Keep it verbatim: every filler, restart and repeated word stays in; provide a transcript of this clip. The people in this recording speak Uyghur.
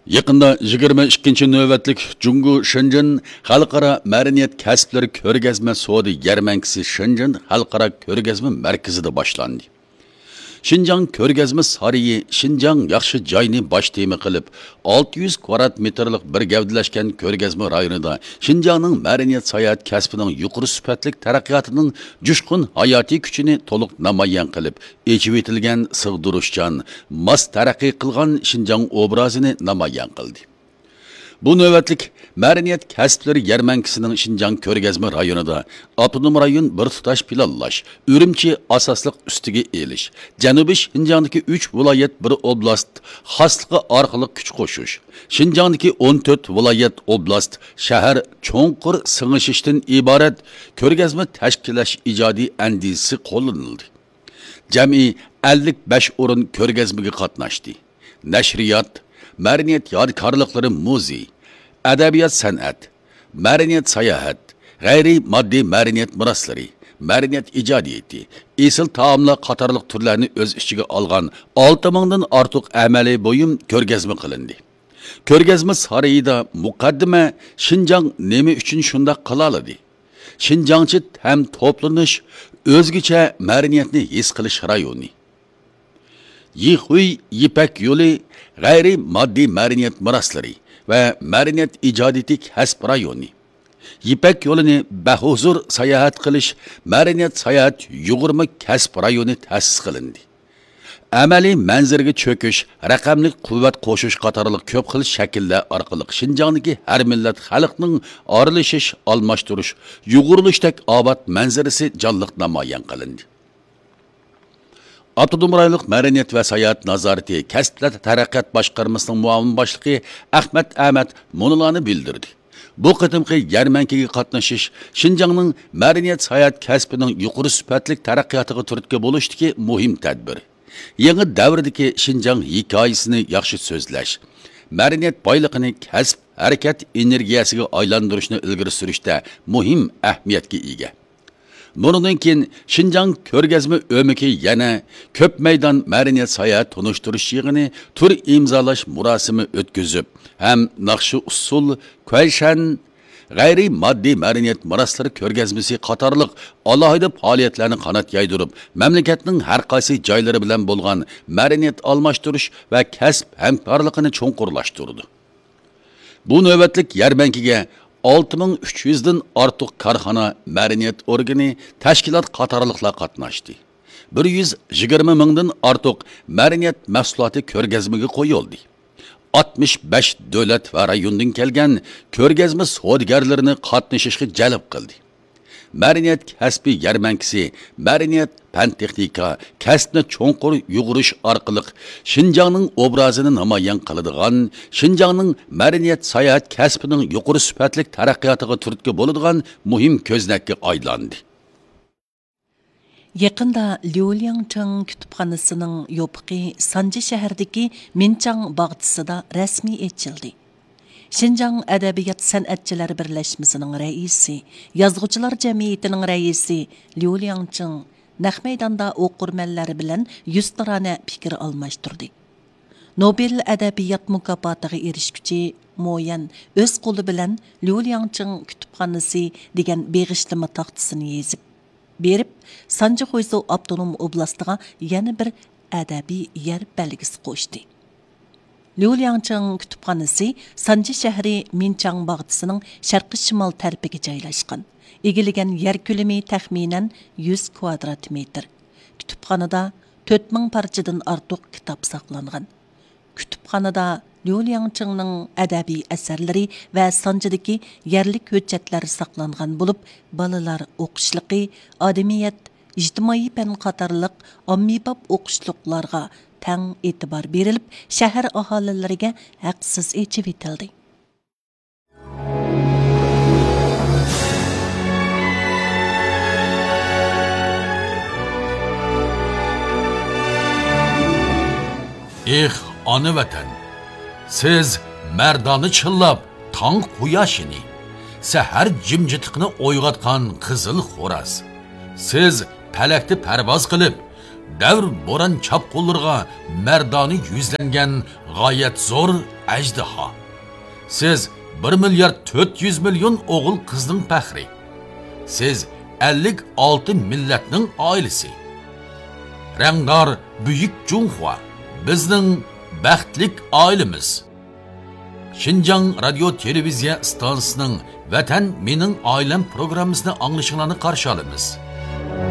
يېقىندا يىگىرمە ئىككىنچى نۆۋەتلىك جۇڭگو شېنجېن خەلقئارا مەدەنىيەت كەسىپلىرى كۆرگەزمە سودا يەرمەنكىسى شېنجېن خەلقئارا كۆرگەزمە مەركىزىدە باشلاندى. شىنجاڭ كۆرگەزمە سارىيى شىنجاڭ ياخشى جاينى باش تېما قىلىپ، ئالتە يۈز كۋادرات مېتىرلىق بىر گەۋدىلەشكەن كۆرگەزمە رايونىدا شىنجاڭنىڭ مەدەنىيەت ساياھەت كەسپىنىڭ يۇقىرى سۈپەتلىك تەرەققىياتىنىڭ جۇشقۇن ھاياتىي كۈچىنى تولۇق نامايان قىلىپ، ئېچىۋېتىلگەن سىغدۇرۇشچان، ماس تەرەققىي قىلغان شىنجاڭ ئوبرازىنى نامايان قىلدى. بۇ نۆۋەتلىك مەدەنىيەت كەسىپلىرى يەرمەنكىسىنىڭ شىنجاڭ كۆرگەزمە رايونىدا ئاپتونوم رايون بىر تۇتاش پىلانلاش، ئۈرۈمچى ئاساسلىق ئۈستىگە ئېلىش، جەنۇبىي شىنجاڭدىكى ئۈچ ۋىلايەت بىر ئوبلاست خاسلىقى ئارقىلىق كۈچ قوشۇش، شىنجاڭدىكى ئون تۆت ۋىلايەت ئوبلاست شەھەر چوڭقۇر سىڭىشىشتىن ئىبارەت كۆرگەزمە تەشكىللەش ئىجادىي ئەندىزىسى قوللىنىلدى. جەمئىي ئەللىك بەش ئورۇن كۆرگەزمىگە قاتناشتى. نەشرىيات، مەدەنىيەت يادىكارلىقلىرى مۇزېي، ئەدەبىيات سەنئەت، مەدەنىيەت ساياھەت، غەيرىي ماددىي مەدەنىيەت مىراسلىرى، مەدەنىيەت ئىجادىيىتى، ئېسىل تائاملار قاتارلىق تۈرلەرنى ئۆز ئىچىگە ئالغان ئالتە مىڭدىن ئارتۇق ئەمەلىي بۇيۇم كۆرگەزمە قىلىندى. كۆرگەزمە سارىيىدا مۇقەددىمە شىنجاڭ نېمە ئۈچۈن شۇنداق قىلالىدى؟ شىنجاڭچە ھەم توپلىنىش، ئۆزگىچە مەدەنىيەتنى ھېس قىلىش رايونى. يىخۇي يىپەك يولى غەيرىي ماددىي مەدەنىيەت مىراسلىرى ۋە مەدەنىيەت ئىجادىيىتى كەسىپ رايونى. يىپەك يولىنى بەھۇزۇر ساياھەت قىلىش مەدەنىيەت ساياھەت يۇغۇرما كەسىپ رايونى تەسىس قىلىندى. ئەمەلىي مەنزىرىگە چۆكۈش، رەقەملىك قۇۋۋەت قوشۇش قاتارلىق كۆپ خىل شەكىللەر ئارقىلىق شىنجاڭدىكى ھەر مىللەت خەلقنىڭ ئارىلىشىش، ئالماشتۇرۇش، يۇغۇرۇلۇشتەك ئاۋات مەنزىرىسى جانلىق نامايان قىلىندى. ئاپتونوم رايونلۇق مەدەنىيەت ۋە ساياھەت نازارىتى كەسىپلەر تەرەققىيات باشقارمىسىنىڭ مۇئاۋىن باشلىقى ئەخمەت ئەمەت مۇنۇلارنى بىلدۈردى. بۇ قېتىمقى يەرمەنكىگە قاتنىشىش شىنجاڭنىڭ مەدەنىيەت ساياھەت كەسپىنىڭ يۇقىرى سۈپەتلىك تەرەققىياتىغا تۈرتكە بولۇشتىكى مۇھىم تەدبىر. يېڭى دەۋردىكى شىنجاڭ ھېكايىسىنى ياخشى سۆزلەش، مەدەنىيەت بايلىقىنى كەسىپ ھەرىكەت ئېنېرگىيەسىگە ئايلاندۇرۇشنى ئىلگىرى سۈرۈشتە مۇھىم ئەھمىيەتكە ئىگە. بۇنىڭدىن كېيىن شىنجاڭ كۆرگەزمە ئۆمىكى يەنە كۆپ مەيدان مەدەنىيەت ساياھەت تونۇشتۇرۇش يىغىنى، تۈر ئىمزالاش مۇراسىمى ئۆتكۈزۈپ ھەم ناخشا ئۇسسۇل، كۇەيشەن، غەيرىي ماددىي مەدەنىيەت مىراسلىرى كۆرگەزمىسى قاتارلىق ئالاھىدە پائالىيەتلەرنى قانات يايدۇرۇپ، مەملىكەتنىڭ ھەر قايسى جايلىرى بىلەن بولغان مەدەنىيەت ئالماشتۇرۇش ۋە كەسىپ ھەمكارلىقىنى چوڭقۇرلاشتۇرىدۇ. بۇ نۆۋەتلىك يەرمەنكىگە ئالتە مىڭ ئۈچ يۈزدىن ئارتۇق كارخانا، مەدەنىيەت ئورگىنى، تەشكىلات قاتارلىقلار قاتناشتى. بىر يۈز يىگىرمە مىڭدىن ئارتۇق مەدەنىيەت مەھسۇلاتى كۆرگەزمىگە قويۇلدى. ئاتمىش بەش دۆلەت ۋە رايوندىن كەلگەن كۆرگەزمە سودىگەرلىرىنى قاتنىشىشقا جەلپ قىلدى. مەدەنىيەت كەسپى يەرمەنكىسى مەدەنىيەت، پەن-تېخنىكا، كەسىپنى چوڭقۇر يۇغۇرۇش ئارقىلىق شىنجاڭنىڭ ئوبرازىنى نامايان قىلىدىغان، شىنجاڭنىڭ مەدەنىيەت ساياھەت كەسپىنىڭ يۇقىرى سۈپەتلىك تەرەققىياتىغا تۈرتكە بولىدىغان مۇھىم كۆزنەككە ئايلاندى. يېقىندا ليۇ لياڭچىڭ كۇتۇپخانىسىنىڭ يوپۇقى سانجى شەھىرىدىكى مىنچاڭ باغچىسىدا رەسمىي ئېچىلدى. شىنجاڭ ئەدەبىيات سەنئەتچىلەر بىرلەشمىسىنىڭ رەئىسى، يازغۇچىلار جەمئىيىتىنىڭ رەئىسى ليۇ لياڭچىڭ نەق مەيداندا ئوقۇرمەنلەر بىلەن يۈزتۇرانە پىكىر ئالماشتۇردى. نوبېل ئەدەبىيات مۇكاپاتىغا ئېرىشكۈچى مو يەن ئۆز قولى بىلەن ليۇ لياڭچىڭ كۇتۇپخانىسى دېگەن بېغىشلىما تاختىسىنى يېزىپ بېرىپ، سانجى خۇيزۇ ئاپتونوم ئوبلاستىغا يەنە بىر ئەدەبىي يەر بەلگىسى قوشتى. ليۇ لياڭچىڭ كۇتۇپخانىسى سانجى شەھىرى مىنچاڭ باغچىسىنىڭ شەرقىي شىمال تەرىپىگە جايلاشقان. ئىگىلىگەن يەر كۆلىمى تەخمىنەن يۈز كۋادرات مېتىر. كۇتۇپخانىدا تۆت مىڭ پارچىدىن ئارتۇق كىتاب ساقلانغان. كۇتۇپخانىدا ليۇ لياڭچىڭنىڭ ئەدەبىي ئەسەرلىرى ۋە سانجىدىكى يەرلىك ھۆججەتلەر ساقلانغان بولۇپ، بالىلار ئوقۇشلۇقى، ئادەمىيەت، ئىجتىمائىي پەن قاتارلىق ئاممىباب ئوقۇشلۇقلارغا تەڭ ئېتىبار بېرىلىپ، شەھەر ئاھالىلىرىگە ھەقسىز ئېچىۋېتىلدى. ئېھ، ئانا ۋەتەن! سىز مەردانە چىللاپ تاڭ قۇياشىنى، سەھەر جىمجىتلىقىنى ئويغاتقان قىزىل خوراز. سىز پەلەكتە پەرۋاز قىلىپ، دەۋر بوران چاپقۇنلىرىغا مەردانە يۈزلەنگەن غايەت زور ئەجدىھا. سىز بىر مىليارد تۆت يۈز مىليون ئوغۇل قىزنىڭ پەخرى. سىز ئەللىك ئالتە مىللەتنىڭ ئائىلىسى. رەڭدار بۈيۈك جۇڭخۇا، بىزنىڭ بەختلىك ئائىلىمىز. شىنجاڭ رادىيو تېلېۋىزىيە ئىستانسىسىنىڭ ۋەتەن مېنىڭ ئائىلەم پروگراممىسىنى ئاڭلىشىڭلارنى قارشى ئالىمىز.